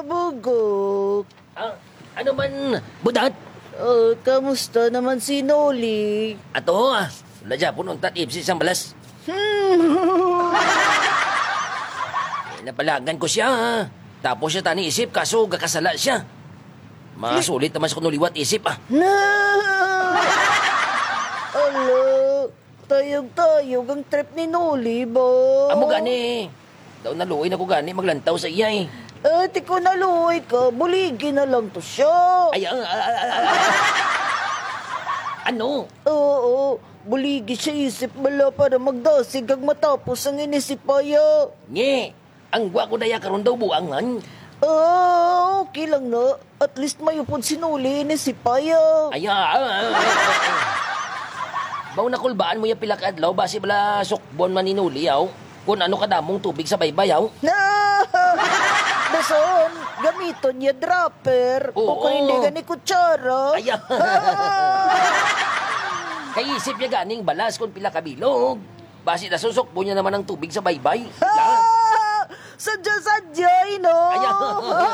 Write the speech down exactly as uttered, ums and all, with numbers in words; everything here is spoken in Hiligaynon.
Bugok. Ah, ano man, Budat? Ah, kamusta naman si Noli? Ato, ah. Wala dyan, punong tat ipsi sang balas. Hmm. Eh, napalagan ko siya, ah. Tapos siya tani isip, kaso gakasala siya. Masulit naman sa kuno liwat isip, ah. Na! Ala, tayog-tayog ang trip ni Noli ba? Amo gani. Daw naluoy na ko gani maglantaw sa iya, eh. Eh, ti ko naluoy ka, buligi na lang to siya. Ay, ah, ah, ah, ah, ah. Ano? Oo, buligi siya isip bala para magdasig kag matapos ang inisipaya. Nge, ang gwa ko daya karon daw buangan. Ah, okay lang na. At least may upod si Noli inisipaya. Ay, ah, ah, ah, ah, ah. Mao nakulbaan mo ya pila ka adlaw, basi bala sukbon man ni Noli, yaw. Kun ano kadamong tubig sa baybay, yaw. Dason, gamiton niya dropper. Oo. O kung hindi gani kutsara. Ay, ah. Kay isip niya ganing balas kung pila ka bilog. Basi nasusukbon niya naman ang tubig sa baybay. Sadya-sadya, no? Ay, ah.